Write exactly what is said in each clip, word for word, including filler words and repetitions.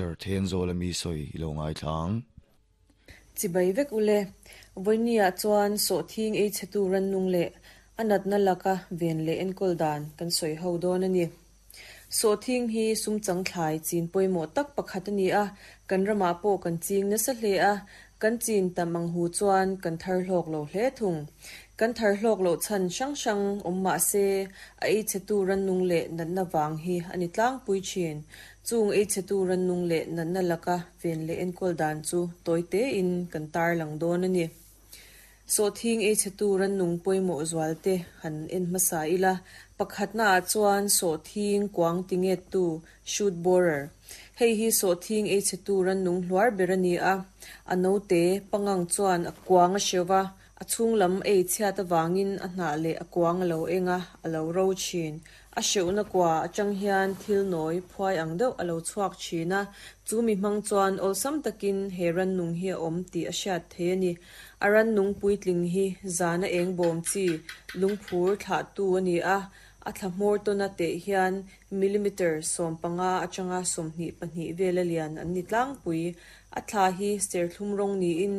Agriculture Thenzawl ami sawi i lo ngaithla ang. Chibai vek ule, vawinia chuan sawhthing ei chhetu rannung leh a natna laka ven leh enkawl dan kan sawi ho dawn a ni. Sawhthing hi sumchang thlai chin pawimawh tak pakhat a ni a, kan ramah pawh kan ching nasa hle a, kan chin tam ang hu chuan kan thar hlawk lo hle thung. Kan thar hlawk loh chhan hrang hrang awm mah se a ei chhetu rannung leh natna vang hi a ni tlangpui thin. Chung ei chhetu rannung leh natna laka ven leh enkawl dan chu tawi tein kan tarlang dawn a ni. Sawhthing ei chhetu rannung pawimawh zual te han en hmasa ila, pakhatnaah chuan sawhthing kuang tingettu shoot borer. Hei hi sawhthing ei chhetu rannung hluar ber a ni a, a naute pangang chuan a kuang a hreuh a, a chhung lam ei chhiat avangin a hnah leh a kuang a lo eng a, a lo ro thin. A hreuhna kua atang hian thil nawi phuai ang deuh a lo chhuak thin a, chu mi hmang chuan awlsam takin he rannung hi a awm tih a hriat thei a ni. A rannung puitling hi zana eng bawm chi lungphur thlahtu a ni a, a thla hmawr tawna teh hian millimeter sawm panga atanga sawmhnih pahnih vel a lian an ni tlangpui. A thla hi serthlum rawng niin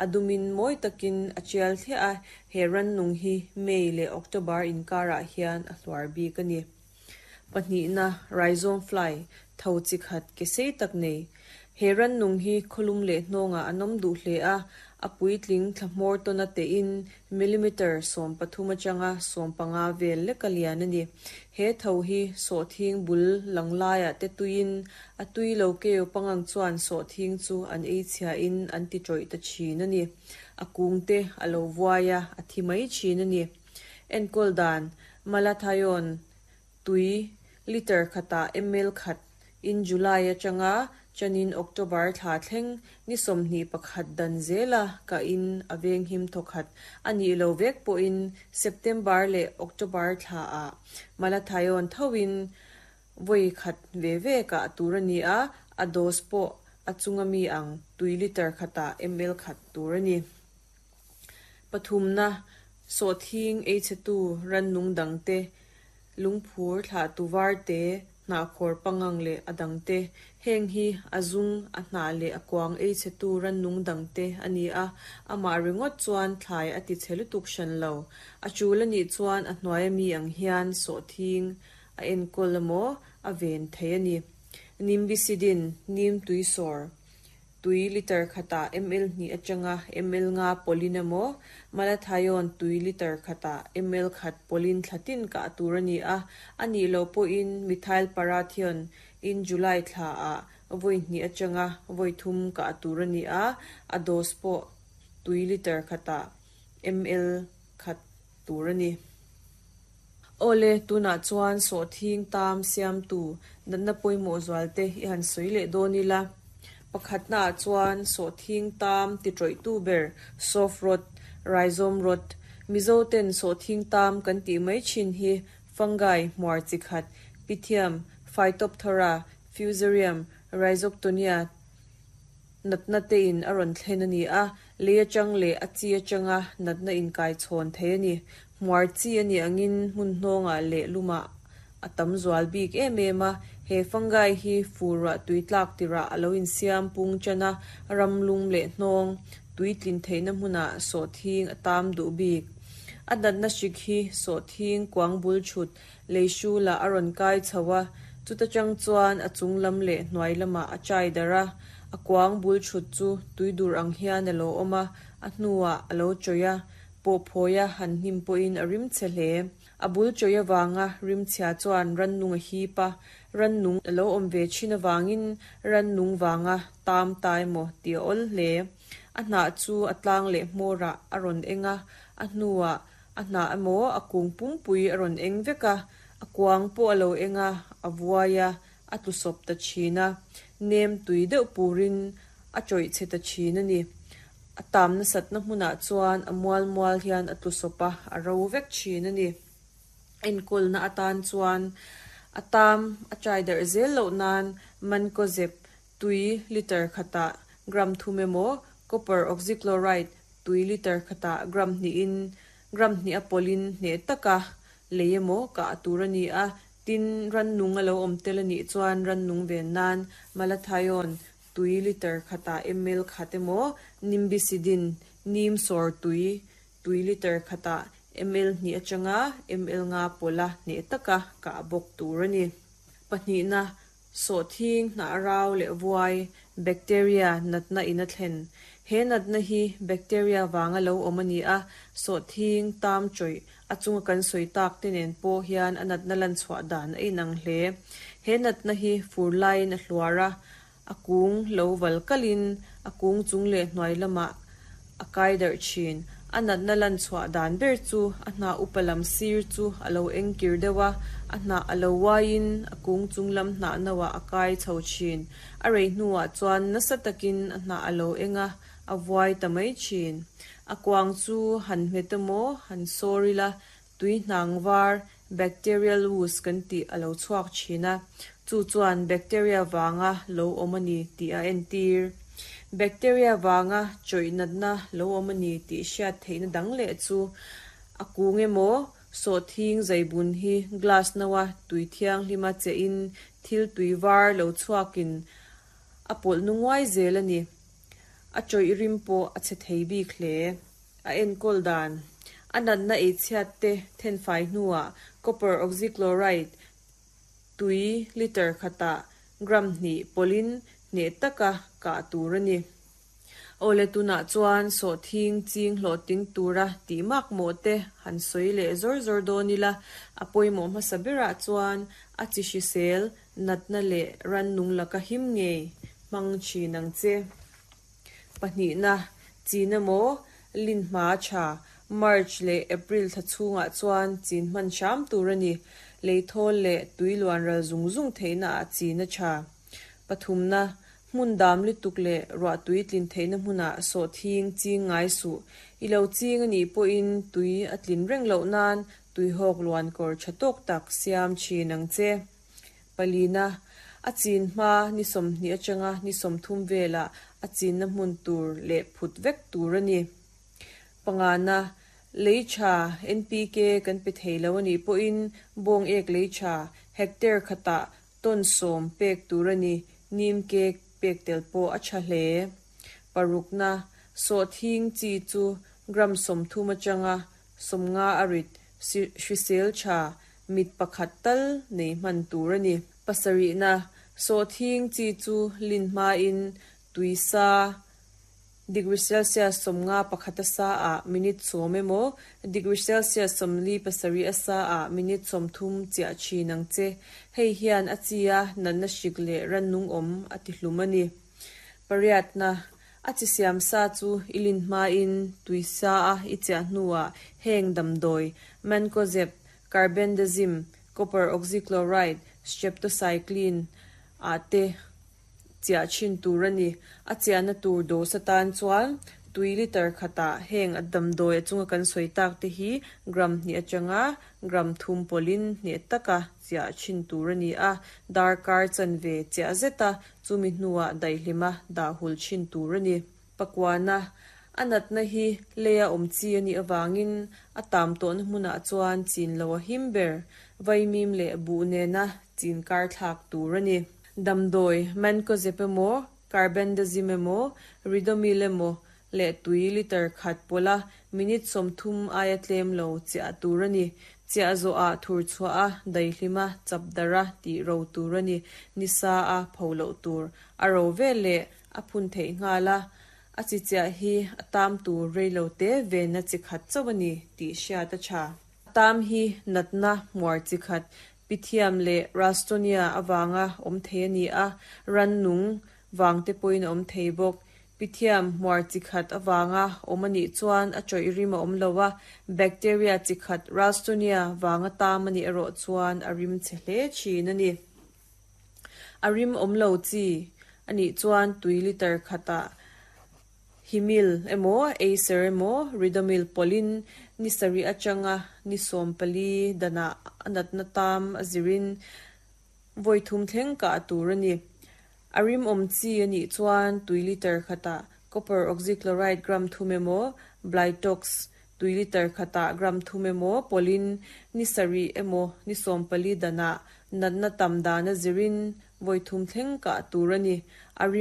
a dumin mawi takin a tial thliah a, he rannung hi May leh October inkarah hian a hluar bik a ni. Pahnihna rhizome fly tho chi khat ke sei tak nei. He rannung hi khawlum leh hnawngah an awm duh hle a, a puitling thla hmawr tawna tein millimeter sawm pathum atanga sawm panga vel lek a lian a ni. He tho hi sawhthing bul lang laiah te tuiin a tui lo keu pangang chuan sawhthing chu an ei chhiain an ti tawih ta thin a ni. A kung te a lo vuai a, a thi mai thin a ni. Enkawl dan malathion tui liter khatah ml khat in July atanga chanin October thla thleng ni sawmhnih pakhat dan zela ka in a veng him thawkhat a nih lo vek pawhin September leh October thla ah malathion thoin vawi khat ve ve ka tur a ni a, a dose pawh a chunga mi ang tui liter khatah ml khat tur a ni. Pathumna sawhthing ei chhetu rannung dang te lungphur thlahtu var te hnahkhawr pangang leh a dang te heng hi a zung a hnah leh a kuang ei chhetu rannung dang te a ni a, amah ringawt chuan thlai a ti chhe lutuk hran lo. A tul a nih chuan a hnuai ami ang hian sawhthing a enkawl emaw a ven thei a ni. Nimbicidine nim tui sawr tui liter khatah ml hnih atanga ml nga pawlin emaw malathion tui liter khatah ml khat pawlin thlatin ka tur a ni a, a nih loh pawhin methyl parathion in July thla ah vawi hnih atanga vawi thum ka tur a ni a, a dose pawh tui liter khatah ml khat tur a ni. Awle tunah chuan sawhthing tam siamtu natna pawimawh zual te i han sawi leh dawn ila. Pakhatnaah chuan sawhthing tam ti tawihtu ber soft rot, rhizome rot, Mizo ten sawhthing tam kan tih mai thin hi fungi hmuar chi khat, Pythium, Phytophthora, Fusarium, Rhizoctonia natna te in a rawn thlen a ni a, lei atang leh a chi atanga natna inkai chhawn thei a ni. Hmuar chi a ni angin hmun hnawngah leh lumah a tam zual bik em em a, he fungi hi furah tui tlak tirah a lo insiam pung chana ram lum leh hnawng tui tlin theihna hmunah sawhthing a tam duh bik. A natna hrik hi sawhthing kuang bul thut lei hrulah a rawn kai chho a, chuta tang chuan a chung lam leh hnuai lamah a chai dar a, a kuang bul thut chu tui dur ang hian a lo awm a, a hnuah a lo tawih a, pawh phawi a han hnim pawhin a rim chhe hle. A bul tawih avanga rim chhia chuan rannung a hip a, rannung a lo awm ve thin avangin rannung vanga tam ta emaw tih a awl hle. A hnah chu a tlang leh hmawrah a rawn eng a, a hnuah a hnah emaw a kung pumpui a rawn eng vek a, a kuang pawh a lo eng a, a vuai a, a tlu sawp ta thin a, nem tui deuh purin a tawih chhe ta thin a ni. A tam nasatna hmunah chuan a mual mual hian a tlu sawp a, a ro vek thin a ni. Enkawlna atan chuan a tam a chai darh zel loh nan mancozeb tui liter khatah gram thum emaw copper oxychloride tui liter khatah gram hnihin gram hnih a pawlin hneh taka lei emaw ka tur a ni a, Tin, rannung a lo awm tel a nih chuan rannung ven nan Malathion tui litre khatah ml khat emaw, Nimbecidine, neem sawr tui, tui litre khatah ml hnih atanga ml nga pawlha hneh taka kah bawk tur a ni. Pahnihna, sawhthing hnah rau leh vuai, bacteria natna in a thlen. He natna hi bacteria vanga lo awm a ni a, sawhthing tam chawih a chunga kan sawi tak te nen pawh hian a natna lan chhuah dan a inang hle. He natna hi fur laiin a hluar a, a kung lo val kalin a kung chung leh hnuai lamah a kai darh thin. A natna lan chhuah dan ber chu a hnah upa lam sir chu a lo eng kir deuh a, a hnah a lo uaiin a kung chung lam hnah noah a kai chho thin. A rei hnuah chuan nasa takin a hnah a lo eng a, a vuai ta mai thin. A kuang chu han hmet emaw han sawr ila, tui hnang var, bacterial ooze kan tih a lo chhuak thin a, chu chuan bacteria vanga lo awm a ni tih a entir. Bacteria vanga chawih natna lo awm a ni tih hriat theihna dang leh chu a kung emaw sawhthing zaibun hi glass noa tui thianghlima chein thil tui var lo chhuakin a pawlh nu nguai zel a ni. A chawih rim pawh a chhe thei bik hle. A enkawl dan. A natna ei chhiat te thenfai hnuah copper oxychloride tui litre khatah gram hnih pawlhin hneh taka kah tur a ni. Awle tunah chuan sawhthing ching hlawhtling tura tih mak mawh te han sawi leh zawr zawr dawn ila, a pawimawh hmasa berah chuan a chi hrisel natna leh rannung laka him ngei hmang thin ang che. Pahnihna, chin emaw lin hma tha, March leh April thla chhungah chuan chin hman hram tur a ni. Leithawl leh tui luan ral zung zung theihna ah chin a tha. Pathumna, hmun dam lutuk leh ruah tui tlin theihna hmunah sawhthing ching ngai suh. I lo ching a nih pawhin tui a tlin reng loh nan tui hawk luan kawr tha tawk tak siam thin ang che. Palina, a chin hma ni sawmhnih atanga ni sawmthum velah a chinna hmun tur leh phut vek tur a ni. Pangana, lei tha N P K kan pe thei lo a nih pawhin bawng ek lei tha hectare khatah ton sawm pek tur a ni. Neem cake pek tel pawh a tha hle. Parukna, sawhthing chi chu gram sawmthum atanga sawmnga a rit hrisel tha mit pakhat tal nei hman tur a ni. Pasarihna, sawhthing chi chu lin hmain tui sa degree Celsius sawmnga pakhat a sa ah minute sawm emaw degree Celsius sawmli pasarih a sa ah minute sawmthum chiah thin ang che. Hei hian a chi a natna hrik leh rannung awm a ti hlum a ni. Pariatna, a chi siam sa chu i lin hmain tui sa a i chiah hnuah heng damdawi, mancozeb, carbendazim, copper oxychloride, streptocycline ah te chiah thin tur a ni. A chiahna tur dose atan chuan tui litre khatah heng a damdawi a chunga kan sawi tak te hi gram hnih atanga gram thum pawlhin hneh taka chiah thin tur a ni a. Darkar chanve chiah zeta chumi hnuah daihlima dah hul thin tur a ni. Pakuana, a natna hi leia awm chi a nih awangin a tam tawhna hmunah chuan chin lo a him ber, vaimim leh buh nena chin kar thlak tur a ni. Damdawi, mancozeb emaw, carbendazim emaw, ridomil emaw leh tui litre khat pawlha minute sawmthum aia tlem lo chiah tur a ni. Chiah zawhah thur chhuah a daihlima chap dara tih ro tur a ni. Nisa a pho loh tur a ro vel leh a phun theih nghal a, a chi chiah hi a tam tur rei lo te venna chi khat chauh a ni tih hriat a tha. A tam hi natna hmuar chi khat Pythium leh Ralstonia awanga awm thei a ni a, rannung vang te pawhin a awm thei bawk. Pythium hmuar chi khat awanga awm a nih chuan a chawih rim a awm lo a, bacteria chi khat Ralstonia vanga tam a nih erawh chuan a rim chhe hle thin a ni. A rim awm lo chi a nih chuan tui litre khatah himil emaw, acer emaw, ridomil pawlhin ni sarih atanga ni sawm pali danah a natna tam a zirin vawi thum thleng kah tur a ni. A rim awm chi a nih chuan tui litre khatah copper oxychloride gram thum emaw, blitox tui litre khatah gram thum emaw pawlhin ni sarih emaw ni sawm pali danah Natna tam dan a zirin vawi thum thleng kah tur a ni. A rim.